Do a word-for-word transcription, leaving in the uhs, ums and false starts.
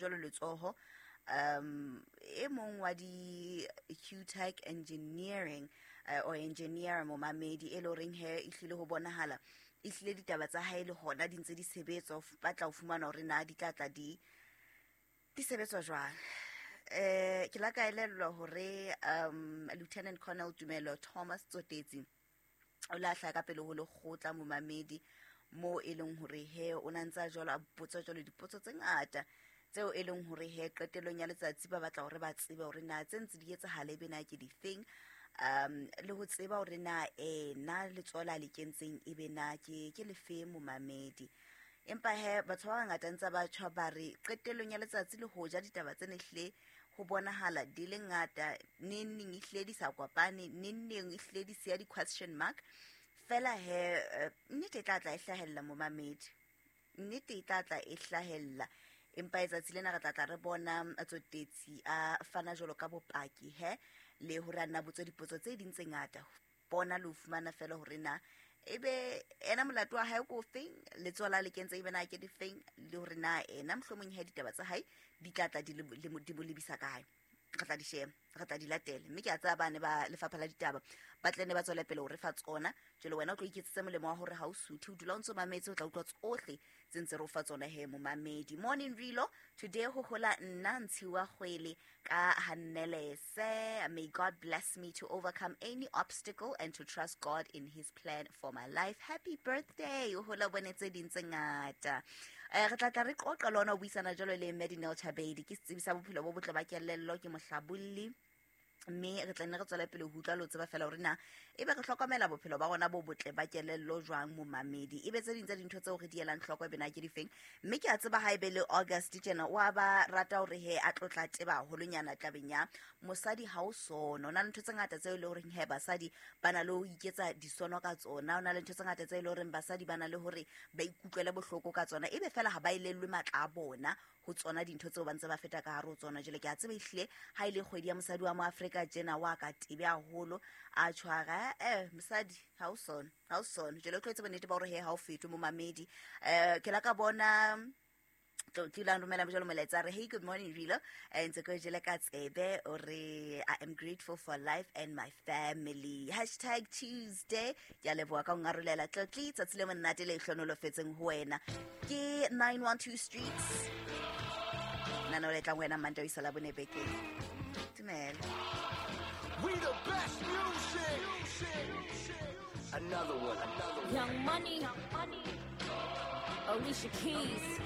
Jwalo letsoho um e mong wa di Q-Tech Engineering uh, or engineer, momamedi, e le horeng he ehlile ho bonahala ehlile ditaba tsa hae le hona di ntse di sebetswa, ba tla ho fumana hore na di tla tla di di sebetswa jwang. eh ke la ka elellwa hore um Lieutenant Colonel Tumelo Thomas Tsotetsi o la hlaya ka pele ho lekgotla, momamedi, mo e leng hore he o na ntse a jwalo a botsa jwalo dipotso tse ngata tseo e leng hore he qetellong ya letsatsi ba batla hore ba tsebe hore na tse ntse di etsahala ebe na ke difeng, um le ho tseba hore na ena letsoho la le kentseng ebe na ke ke lefe, momamedi. Empa he batho ba bangata ntse ba tjho ba re qetellong ya letsatsi, le hoja ditaba tsene hle ho bonahala di le ngata, neng neng ehlile di sa kopane, neng neng ehlile di siya di-question mark fela, he eh, nnete e tla tla e hlahella, momamedi, nnete e tla tla e hlahella. Empa letsatsi lena re tla tla re bona Tsotetsi a fana jwalo ka bopaki he le hore a nna botswe dipotso tse ding tse ngata, bona le ho fumana fela hore na ebe ena molato wa hae ko feng, letsoho la le kentse ebe na ke difeng, le hore na ena mohlomong he ditaba tsa hae di tla tla di le- le mo- di mo lebisa kae. Re tla di sheba, re tla di latela, mme ke a tseba bane ba lefapha la ditaba ba tle ne ba tswele pele ho re fa tsona. Jwale wena o tlo iketsetse molemo wa hore ha o suthe, o dula o ntso mametse, o tla utlwa tsohle tse ntse re o fa tsona he, momamedi. Morning Rilo, today ho hola nna Ntshiwa Kgwele ka Hannelese. May God bless me to overcome any obstacle and to trust God in his plan for my life. Happy birthday. O hola bone tse ding tse ngata. Eh, re tla tla re qoqa le ona, o buisana jwalo le Medinel Chabedi, ke setsebi sa bophelo bo botle ba kelello, ke mohlabolli, mme re tla nne re tswele pele ho utlwa le ho tseba fela hore na ebe re hlokomela bophelo ba rona bo botle ba kelello jwang, momamedi, ebe tse ding tsa dintho tseo re di elang hloko ebe na ke difeng. Mme ke a tseba ha ebe le August tjena o a ba rata hore he a tlotla teba haholonyana tabeng ya mosadi ha o sono. O na le ntho tse ngata tseo e le horeng he basadi ba na le ho iketsa disono ka tsona, o na le ntho tse ngata tse e le horeng basadi ba na le hore ba ikutlwele bohloko ka tsona, ebe fela ha ba elellwe matla a bona ho tsona dintho tseo ba ntse ba feta ka hare ho tsona. Jwale ke a tseba ehlile ha e le kgwedi ya mosadi wa mo Afrika tjena wa ka tebe haholo a tshwara eh mosadi ha o sono, ha o sono. Jwale o tlo etse bonnete ba hore he ha o fetwe, momamedi. eh ke la ka bona Tlotli la romela jalo molaetsa re, "Hey, good morning Rilo." Eh, ntse ko jele ka tsebe o re, "I am grateful for life and my family, hashtag Tuesday." Ke a leboha ka ho ngarolela, Tlotli. Tsatsi le monate le hlonolofetseng ho wena. Ke nine one two Streets nana o letlang wena Mantaha ho isa Labone bekeng. Tumela. We the best music. Another one. Another one. Young Money, Alicia Keys.